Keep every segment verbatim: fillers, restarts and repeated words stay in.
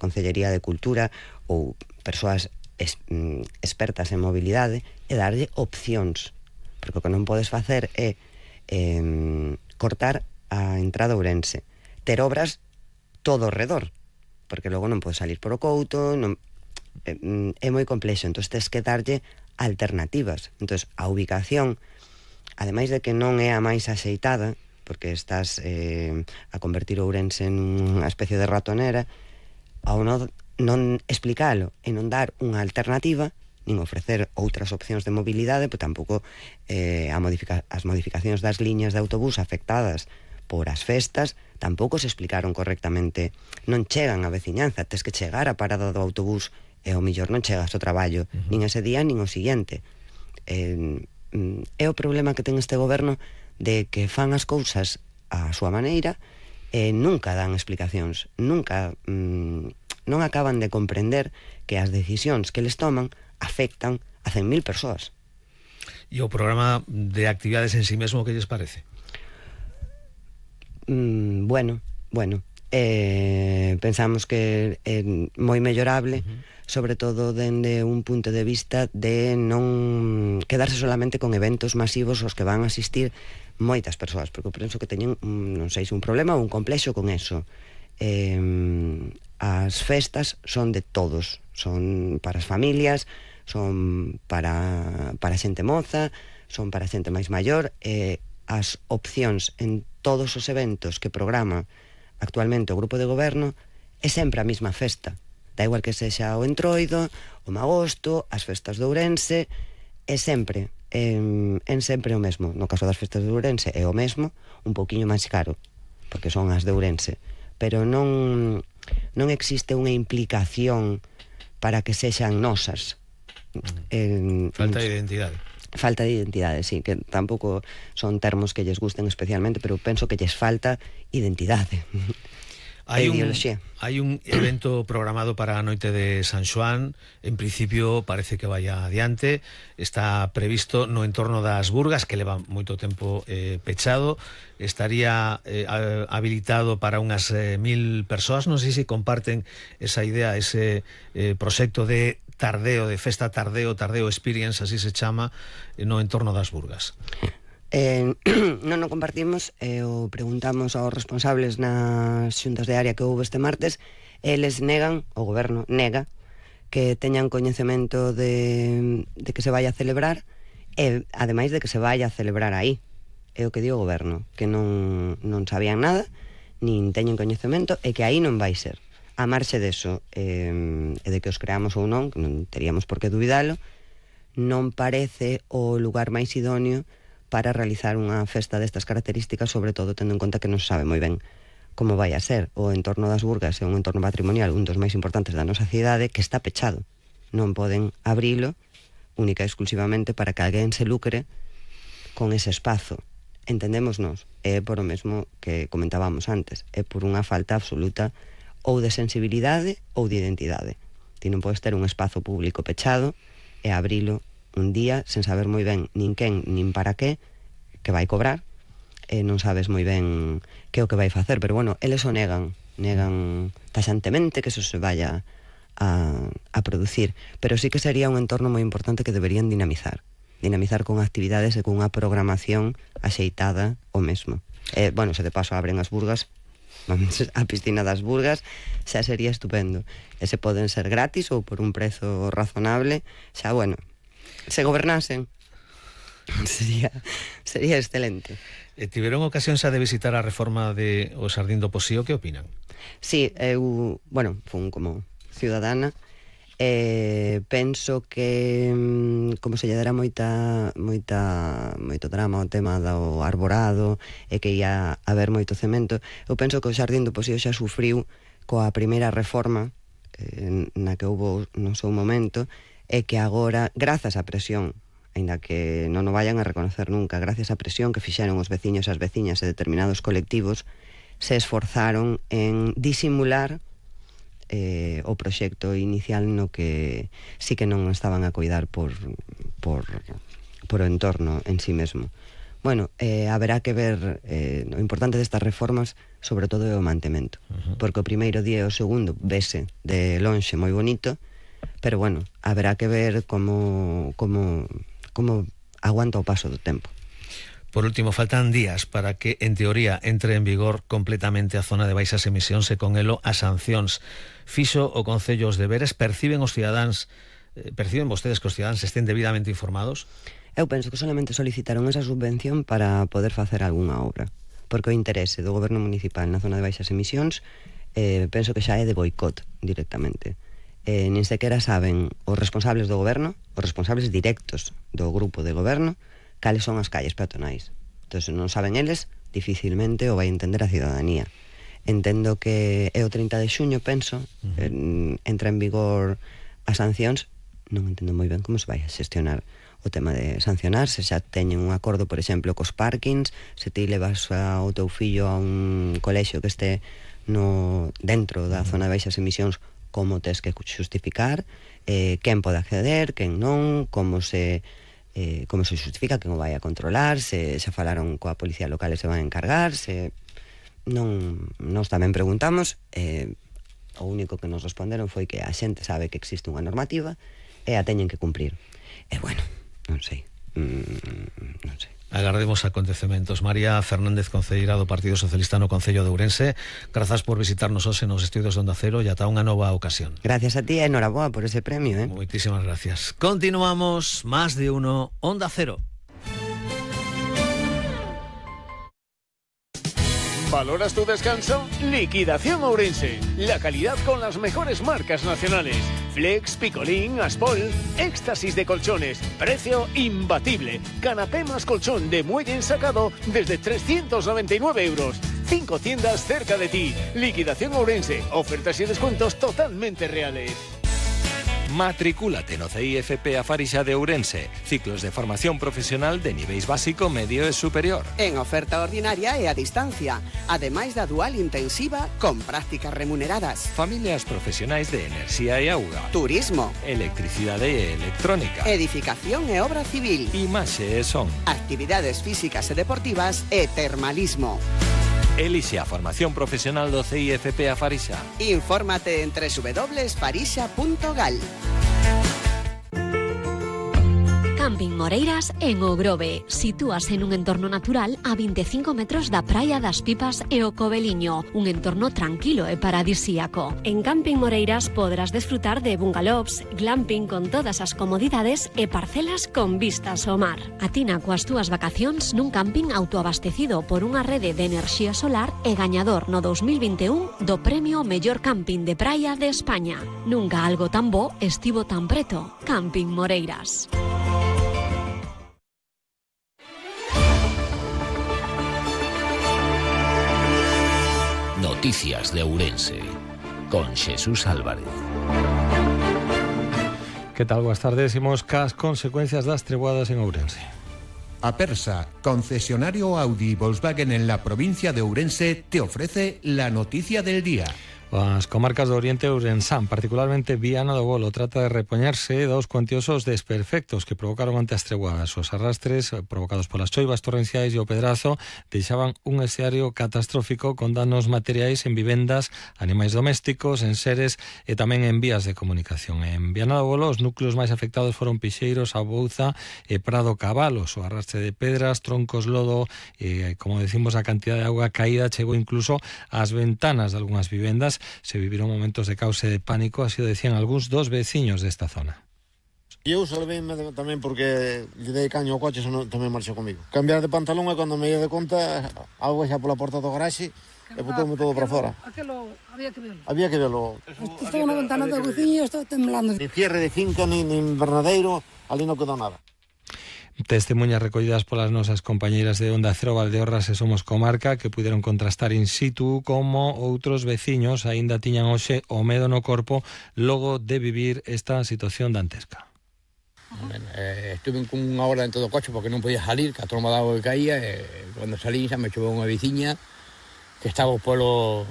Concellería de Cultura ou persoas es, mm, expertas en mobilidade e darlle opcións, porque o que non podes facer é eh, cortar a entrada a Ourense, ter obras todo ao redor, porque logo non podes salir por o Couto, non, é, é moi complexo, entón tens que darlle alternativas. Entón a ubicación, ademais de que non é a máis axeitada, porque estás eh, a convertir Ourense en unha especie de ratonera, ao non, non explicalo e non dar unha alternativa, nin ofrecer outras opcións de mobilidade, pois tampouco eh, a modifica- as modificacións das liñas de autobús afectadas por as festas tampouco se explicaron correctamente. Non chegan a veciñanza, tes que chegar a parada do autobús e ao millor non chegas ao traballo, uh-huh. nin ese día nin o siguiente. Eh, é o problema que ten este goberno de que fan as cousas á súa maneira e nunca dan explicacións, nunca mm, non acaban de comprender que as decisións que les toman afectan a cen mil persoas. E o programa de actividades en sí mesmo, que lles parece? Mm, bueno, bueno, eh, pensamos que é moi mellorable, uh-huh. sobre todo dende un punto de vista de non quedarse solamente con eventos masivos aos que van a asistir moitas persoas, porque eu penso que teñen, non sei se un problema ou un complexo con eso. Eh, as festas son de todos, son para as familias, son para, para xente moza, son para xente máis maior, e eh, as opcións en todos os eventos que programa actualmente o grupo de goberno é sempre a mesma festa. Da igual que sexa o Entroido, o Magosto, as festas de Ourense, é sempre, en, en sempre o mesmo. No caso das festas de Ourense é o mesmo, un pouquiño máis caro, porque son as de Ourense. Pero non, non existe unha implicación para que sexan nosas. En, Falta de identidade. Falta de identidade, sí, que tampouco son termos que lles gusten especialmente, pero penso que lles falta identidade. Hai un, hai un evento programado para a noite de San Xoán. En principio parece que vai adiante. Está previsto no entorno das Burgas, que leva moito tempo eh, pechado. Estaría eh, habilitado para unhas eh, mil persoas. Non sei se comparten esa idea, ese eh, proxecto de tardeo, de festa tardeo, tardeo experience, así se chama, no entorno das Burgas. Eh, non o compartimos, eh, o preguntamos aos responsables nas xuntas de área que houve este martes, eles negan, o goberno nega, que teñan coñecemento de, de que se vai a celebrar, e ademais de que se vai a celebrar aí. É o que di o goberno, que non, non sabían nada, nin teñen coñecemento, e que aí non vai ser. A marxe deso, eh, e de que os creamos ou non, que non teríamos por que dubidalo, non parece o lugar máis idóneo para realizar unha festa destas características, sobre todo tendo en conta que non se sabe moi ben como vai a ser. O entorno das Burgas é un entorno patrimonial, un dos máis importantes da nosa cidade, que está pechado. Non poden abrilo única e exclusivamente para que alguén se lucre con ese espazo. Entendémonos, é por o mesmo que comentábamos antes, é por unha falta absoluta ou de sensibilidade ou de identidade. Ti non podes ter un espazo público pechado e abrilo un día sen saber moi ben nin quen nin para qué, que vai cobrar, e non sabes moi ben que é o que vai facer, pero bueno, eles o negan, negan taxantemente que eso se vaya a, a producir, pero sí que sería un entorno moi importante que deberían dinamizar, dinamizar con actividades e con unha programación axeitada o mesmo. E, bueno, se de paso abren as Burgas, vamos a piscina das Burgas, xa sería estupendo. E se poden ser gratis ou por un prezo razonable, xa, bueno, se gobernasen sería, sería excelente. E tiveron ocasión xa de visitar a reforma de o Xardín do Posío, que opinan? Sí, eu, bueno, fun como ciudadana, e penso que como se lle dera moita moita moito drama ao tema do arborado e que ia haber moito cemento, eu penso que o Xardín do Posío xa sufriu coa primeira reforma eh, na que houve no seu momento, e que agora, grazas á presión, aínda que non o vayan a reconocer nunca, grazas á presión que fixeron os veciños e as veciñas e determinados colectivos, se esforzaron en disimular eh, o proxecto inicial no que sí que non estaban a coidar por, por, por o entorno en sí mesmo. Bueno, eh, haberá que ver, eh, o importante destas reformas sobre todo é o mantemento, uh-huh. porque o primeiro día e o segundo vese de lonxe moi bonito, pero bueno, haberá que ver como, como, como aguanta o paso do tempo. Por último, faltan días para que, en teoría, entre en vigor completamente a zona de baixas emisións e con elo as sancións. Fixo o Concello os deberes, perciben os cidadáns, eh, perciben vostedes que os cidadáns estén debidamente informados? Eu penso que solamente solicitaron esa subvención para poder facer algunha obra, porque o interese do goberno municipal na zona de baixas emisións eh, penso que xa é de boicot directamente. Eh, nin sequera saben os responsables do goberno, os responsables directos do grupo de goberno, cales son as calles peatonais. Entón, se non saben eles, dificilmente o vai entender a cidadanía. Entendo que é o trinta de xuño, penso, uh-huh. en, entra en vigor as sancións, non entendo moi ben como se vai a xestionar o tema de sancionar, se xa teñen un acordo, por exemplo, cos parkings, se ti levas ao teu fillo a un colexio que este no dentro da zona de baixas emisións, como tes que justificar, eh, quen pode acceder, quen non, como se eh, como se justifica, quen o vai a controlar, se xa falaron coa policía local e se van a encargar, se non, nós tamén preguntamos, eh, o único que nos responderon foi que a xente sabe que existe unha normativa e a teñen que cumprir. E bueno, non sei, mm, non sei. Agardemos acontecementos. María Fernández, concelleira do Partido Socialista no Concello de Ourense, grazas por visitarnos hoxe nos estudios de Onda Cero e ata unha nova ocasión. Gracias a ti e enhoraboa por ese premio, eh? Moitísimas gracias. Continuamos, Más de Uno, Onda Cero. ¿Valoras tu descanso? Liquidación Ourense. La calidad con las mejores marcas nacionales. Flex, Picolín, Aspol. Éxtasis de colchones. Precio imbatible. Canapé más colchón de muelle ensacado desde trescientos noventa y nueve euros. Cinco tiendas cerca de ti. Liquidación Ourense. Ofertas y descuentos totalmente reales. Matricúlate no C I F P a Farixa de Ourense. Ciclos de formación profesional de niveis básico, medio e superior. En oferta ordinaria e a distancia, ademais da dual intensiva con prácticas remuneradas. Familias profesionais de enerxía e auga. Turismo. Electricidade e electrónica. Edificación e obra civil. Imaxe e son. Actividades físicas e deportivas e termalismo. Elixe a formación profesional do C I F P a Farixa. Infórmate en doble u doble u doble u punto farixa punto gal. Camping Moreiras en O Grove. Sitúase nun entorno natural a veinticinco metros da Praia das Pipas e o Coveliño, un entorno tranquilo e paradisíaco. En Camping Moreiras podrás desfrutar de bungalows, glamping con todas as comodidades e parcelas con vistas ao mar. Atina coas túas vacacións nun camping autoabastecido por unha rede de enerxía solar e gañador no dos mil vinte e un do premio Mellor Camping de Praia de España. Nunca algo tan bo estivo tan preto. Camping Moreiras. Noticias de Ourense, con Xesús Álvarez. Que tal? Boas tardes. Imos cas consecuencias das treboadas en Ourense. Apersa, concesionario Audi y Volkswagen en la provincia de Ourense, te ofrece la noticia del día. As comarcas do Oriente Ourensán, particularmente Viana do Bolo, trata de repoñerse dos cuantiosos desperfectos que provocaron ante as treguadas. Os arrastres provocados polas choivas torrenciais e o pedrazo deixaban un escenario catastrófico con danos materiais en vivendas, animais domésticos, en seres e tamén en vías de comunicación. En Viana do Bolo, os núcleos máis afectados foron Pixeiros, Abouza e Prado Cabalos. O arrastre de pedras, troncos, lodo e, como decimos, a cantidad de auga caída chegou incluso ás ventanas de algunhas vivendas. Se viviron momentos de caos e de pánico, así o decían algúns dos veciños desta zona. Eu salveime tamén porque lle dei caño ao coche, xa non, tamén marchou comigo. Cambiar de pantalón e cando me lle de conta, algo xa pola porta do garaxe e botoume todo para fora. Aquelo había que verlo. Había que verlo. Estaba na ventana da cociña e estaba temblando. Ni cierre de finca, ni, ni invernadeiro, ali non quedou nada. Testemunhas recollidas polas nosas compañeiras de Onda Cero, Valdeorras e Somos Comarca, que puderon contrastar in situ como outros veciños aínda tiñan hoxe o medo no corpo logo de vivir esta situación dantesca. Bueno, eh, estuve con unha hora dentro do coche porque non podía salir, que a tromba de agua que caía, e cando salí xa me choveu unha veciña que estaba polo...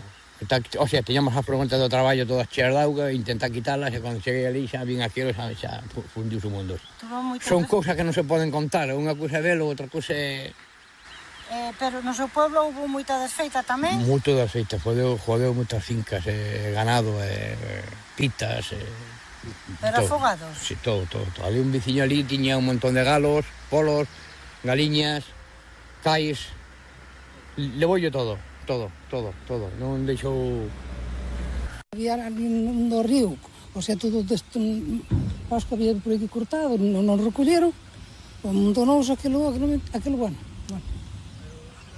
O sea, teñamos as preguntas do traballo todas cheas de auga, intentar quitalas, e cando cheguei ali xa vin aquilo, xa, xa fundiu o mundo. Son cousas que non se poden contar, unha cousa é velo, outra cousa é Eh, pero no seu pueblo houve moita desfeita tamén? Moito desfeita, jodeu, jodeu moitas fincas, eh, ganado, eh, pitas... Eh, pero todo. Afogados? Sí, todo, todo, todo. Ali un veciño ali tiña un montón de galos, polos, galiñas, cais... Levoullo todo, todo, todo, todo. Non deixou... Había ali no río, o sea, todo desto, acho que había por aquí cortado, non, non recolleron, amontonouse aquilo, aquilo, aquilo bueno, bueno.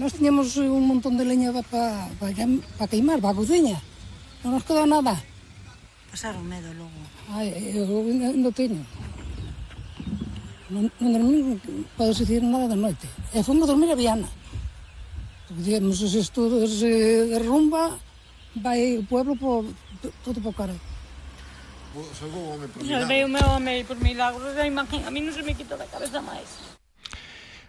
Nós tiñamos un montón de leña para pa, pa queimar, para a cociña, non nos quedou nada. Pasaron medo logo. Ai, eu non teño. Non, non dormí, podes dicir nada da noite. E fomos dormir a Viana. Porque, digamos, se isto se derrumba, vai o pueblo por, todo por cara. Salvou o home por milagro. Salvei o meu home por milagro. A mí non se me quita da cabeza máis.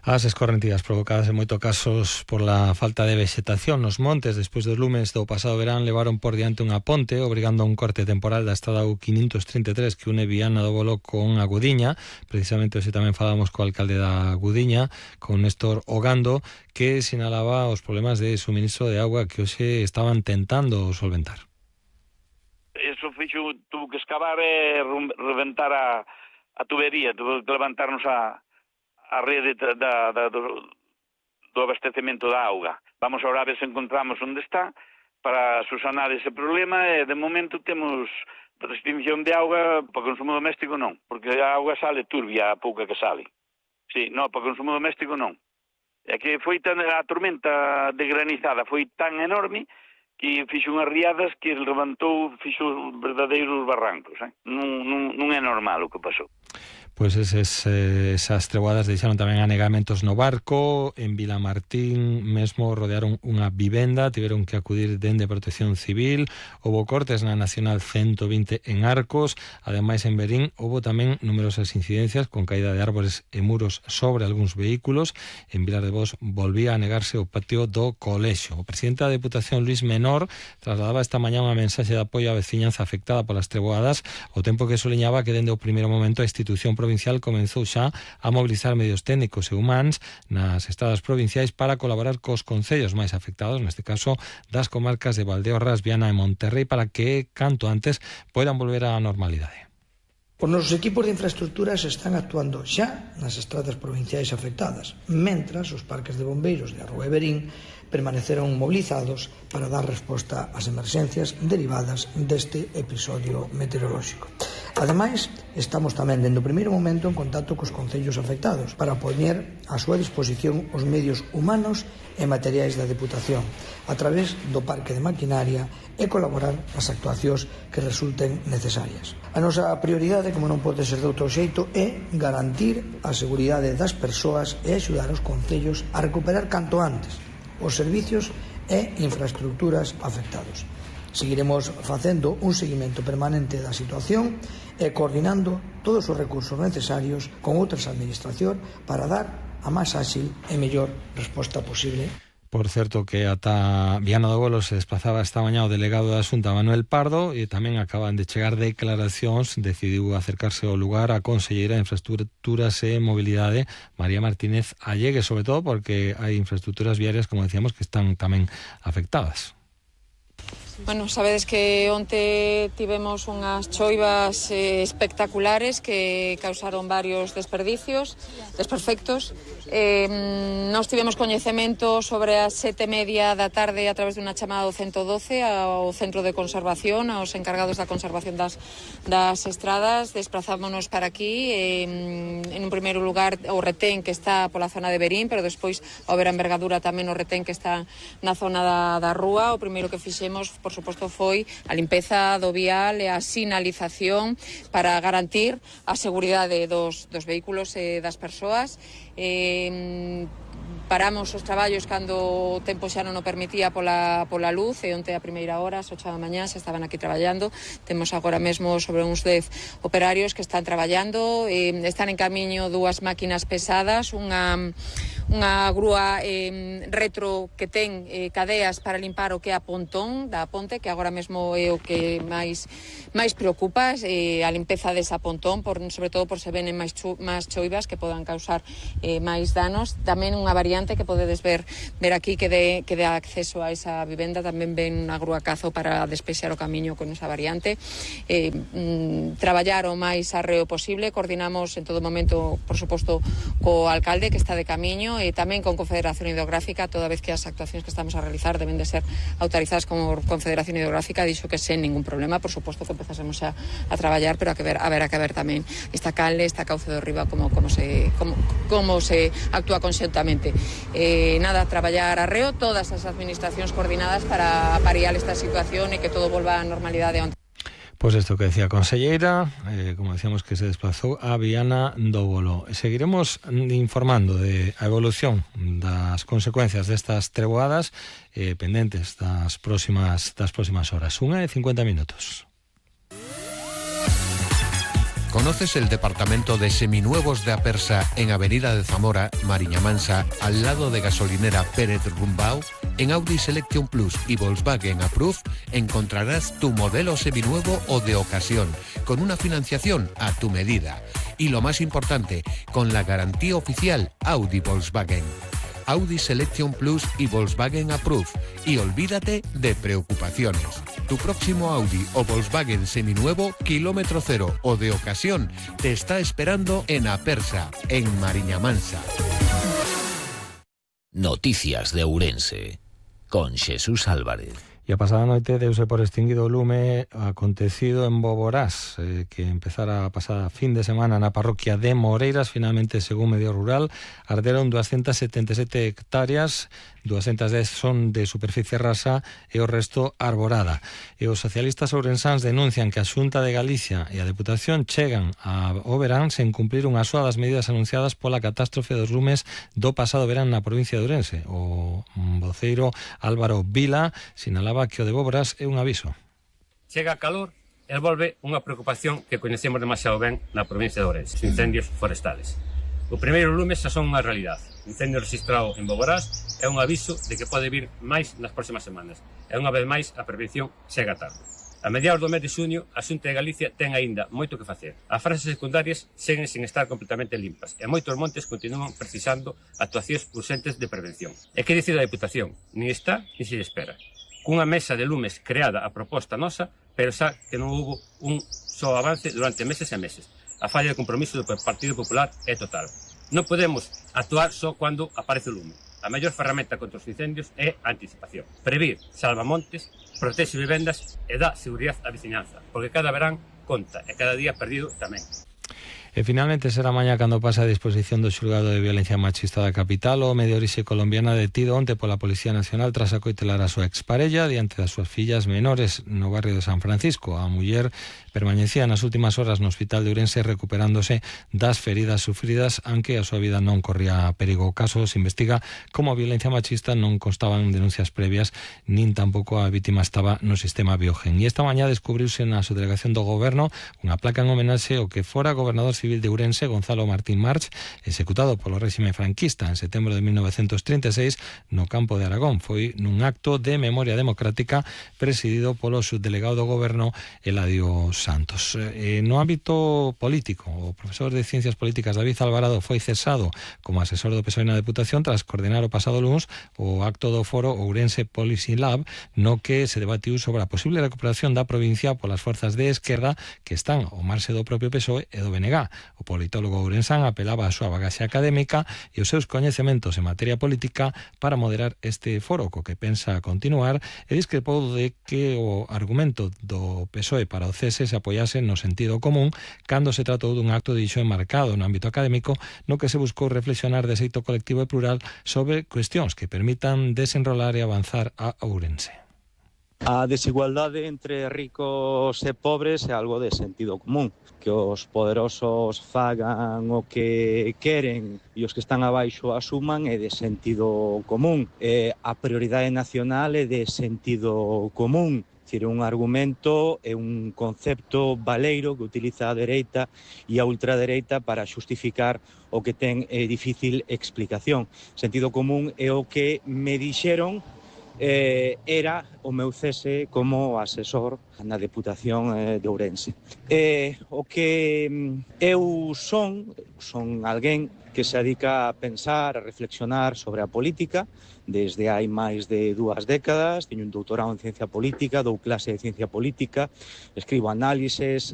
As escorrentidas provocadas en moitos casos por la falta de vexetación nos montes despois dos lumes do pasado verán levaron por diante unha ponte obrigando a un corte temporal da estrada U quinientos treinta e tres que une Viana do Bolo con a Gudiña. Precisamente hoxe tamén falamos co alcalde da Gudiña, con Néstor Ogando, que sinalaba os problemas de suministro de agua que hoxe estaban tentando solventar. Eso fixo, tuvo que excavar e reventar a, a tubería, tuvo que levantarnos a a rede da, da, do, do abastecemento da auga. Vamos ahora a ver se encontramos onde está para susanar ese problema e de momento temos restricción de auga para consumo doméstico non, porque a auga sale turbia a pouca que sale. Sí, non, para consumo doméstico non. É que foi tan, a tormenta de granizada foi tan enorme que fixo unhas riadas que levantou, fixo verdadeiros barrancos. Eh? Non, non, non é normal o que pasou. Pois eses, esas treboadas deixaron tamén anegamentos no barco. En Vilamartín mesmo rodearon unha vivenda, tiveron que acudir dende Protección Civil. Houbo cortes na Nacional ciento vinte en Arcos. Ademais, en Verín houbo tamén numerosas incidencias con caída de árbores e muros sobre algúns vehículos. En Vilar de Bos volvía a negarse o patio do colexio. O presidente da Deputación, Luis Menor, trasladaba esta mañá unha mensaxe de apoio á veciñanza afectada polas treboadas, ao tempo que soliñaba que dende o primeiro momento a institución provincial comenzou xa a mobilizar medios técnicos e humanos nas estradas provinciais para colaborar cos concellos máis afectados, neste caso das comarcas de Valdeorras, Viana e Monterrey, para que canto antes poidan volver á normalidade. Os nosos equipos de infraestructuras están actuando xa nas estradas provinciais afectadas, mentras os parques de bombeiros de Arroa e Verín permaneceron movilizados para dar resposta ás emerxencias derivadas deste episodio meteorolóxico. Ademais, estamos tamén dende o primeiro momento en contacto cos concellos afectados para poñer á súa disposición os medios humanos e materiais da Deputación a través do parque de maquinaria e colaborar nas actuacións que resulten necesarias. A nosa prioridade, como non pode ser de outro xeito, é garantir a seguridade das persoas e axudar os concellos a recuperar canto antes os servicios e infraestructuras afectados. Seguiremos facendo un seguimento permanente da situación e coordinando todos os recursos necesarios con outras administracións para dar a máis áxil e mellor resposta posible. Por certo que ata Viana do Bolo se desplazaba esta mañá o delegado da Xunta, Manuel Pardo, e tamén acaban de chegar declaracións. Decidiu acercarse ao lugar a conselleira de Infraestructuras e Mobilidade, María Martínez Allegue, sobre todo porque hai infraestructuras viarias, como decíamos, que están tamén afectadas. Bueno, sabedes que onte tivemos unhas choivas eh, espectaculares que causaron varios desperdicios, desperfectos. Eh, nos tivemos coñecemento sobre as sete e media da tarde a través dunha chamada do ciento doce ao Centro de Conservación, aos encargados da conservación das, das estradas. Desplazámonos para aquí, eh, en un primeiro lugar o retén que está pola zona de Verín, pero despois ao ver a envergadura tamén o retén que está na zona da, da rúa. O primeiro que fixemos, por suposto, foi a limpeza do vial e a sinalización para garantir a seguridade dos, dos vehículos e das persoas. Eh, paramos os traballos cando o tempo xa non o permitía pola, pola luz, e onte a primeira hora, as ocho da mañá, xa estaban aquí traballando. Temos agora mesmo sobre uns dez operarios que están traballando. Eh, están en camiño dúas máquinas pesadas, unha unha grúa eh, retro que ten eh, cadeas para limpar o que é a pontón da ponte, que agora mesmo é o que máis máis preocupa, eh, a limpeza desa pontón, por, sobre todo por se venen máis, chu, máis choivas que podan causar eh, máis danos. Tamén unha variante variante que podedes ver ver aquí que de, que de acceso a esa vivenda, tamén ven unha grúa cazo para despexar o camiño con esa variante. Eh, mm, traballar o máis arreo posible, coordinamos en todo momento, por suposto, co alcalde que está de camiño e tamén con Confederación Hidrográfica, toda vez que as actuacións que estamos a realizar deben de ser autorizadas como Confederación Hidrográfica, dixo que sen ningún problema, por suposto que empezásemos a, a traballar, pero a que ver, a ver, a que ver tamén esta canle, esta cauce do Riba, como, como, se, como, como se actúa conxuntamente. Eh, nada, traballar arreo, todas as administracións coordinadas para pariar esta situación e que todo volva á normalidade onte. Pues esto que decía a conselleira, eh, como decíamos, que se desplazou a Viana do Bolo. Seguiremos informando de a evolución das consecuencias destas treboadas eh, pendentes das próximas, das próximas horas. Unha e cincuenta minutos. ¿Conoces el departamento de seminuevos de Apersa en Avenida de Zamora, Mariña Mansa, al lado de gasolinera Pérez Rumbao? En Audi Selection Plus y Volkswagen Approve encontrarás tu modelo seminuevo o de ocasión, con una financiación a tu medida. Y lo más importante, con la garantía oficial Audi Volkswagen. Audi Selection Plus y Volkswagen Approve. Y olvídate de preocupaciones. Tu próximo Audi o Volkswagen seminuevo, kilómetro cero o de ocasión, te está esperando en Apersa, en Mariña Mansa. Noticias de Ourense, con Xesús Álvarez. E a pasada noite deuse por extinguido o lume acontecido en Boborás, eh, que empezara a pasada fin de semana na parroquia de Moreiras. Finalmente, según Medio Rural, arderon doscientas setenta e sete hectáreas, doscientas dez son de superficie rasa e o resto arborada. E os socialistas ourensáns denuncian que a Xunta de Galicia e a Deputación chegan ao verán sen cumprir unha soa das medidas anunciadas pola catástrofe dos lumes do pasado verán na provincia de Ourense. O voceiro Álvaro Vila sinalaba que o de Boborás é un aviso. Chega a calor e volve unha preocupación que coñecemos demasiado ben na provincia de Ourense, os incendios forestales. O primeiro lume xa son unha realidade. O incendio registrado en Boborás é un aviso de que pode vir máis nas próximas semanas. E unha vez máis a prevención chega tarde. A mediados do mes de xuño, a Xunta de Galicia ten aínda moito que facer. As frases secundarias seguen sin estar completamente limpas e moitos montes continúan precisando actuacións urxentes de prevención. E que dicir da Deputación? Ni está, ni se espera. Cunha mesa de lumes creada a proposta nosa, pero xa que non houbo un só avance durante meses e meses. A falla de compromiso do Partido Popular é total. Non podemos actuar só cando aparece o lume. A mellor ferramenta contra os incendios é a anticipación. Previr salva montes, protexe vivendas e dá seguridade á veciñanza, porque cada verán conta e cada día perdido tamén. E finalmente será mañá cando pasa a disposición do xulgado de violencia machista da capital o medio orixe colombiana detido onte pola Policía Nacional tras acoitelar a súa exparella diante das súas fillas menores no barrio de San Francisco. A muller permanecía nas últimas horas no hospital de Ourense recuperándose das feridas sufridas, aunque a súa vida non corría perigo. O caso se investiga como a violencia machista non constaban denuncias previas nin tampouco a vítima estaba no sistema Biogen. E esta mañá descubriuse na subdelegación do goberno unha placa en homenaxe ao que fora gobernador civil de Ourense, Gonzalo Martín March, executado polo réxime franquista en setembro de mil novecientos trinta e seis no campo de Aragón. Foi nun acto de memoria democrática presidido polo subdelegado do goberno Eladio Santos. E no ámbito político, o profesor de Ciencias Políticas David Alvarado foi cesado como asesor do P S O E na Deputación tras coordinar o pasado luns o acto do foro Ourense Policy Lab, no que se debatiu sobre a posible recuperación da provincia polas forzas de esquerda que están ao marxe do propio P S O E e do B N G. O politólogo ourensán apelaba a súa bagaxe académica e os seus coñecementos en materia política para moderar este foro, co que pensa continuar, e discrepou de que o argumento do P S O E para o cese se apoiase no sentido común cando se tratou dun acto dixo enmarcado no ámbito académico no que se buscou reflexionar de xeito colectivo e plural sobre cuestións que permitan desenrolar e avanzar a Ourense. A desigualdade entre ricos e pobres é algo de sentido común. Que os poderosos fagan o que queren e os que están abaixo asuman é de sentido común. E a prioridade nacional é de sentido común. Dicir, un argumento é un concepto baleiro que utiliza a dereita e a ultradereita para xustificar o que ten eh, difícil explicación. Sentido común é o que me dixeron eh, era o meu cese como asesor na Deputación eh, de Ourense. Eh, o que eu son, son alguén que se dedica a pensar, a reflexionar sobre a política desde hai máis de dúas décadas. Teño un doutorado en ciencia política, dou clase de ciencia política, escribo análises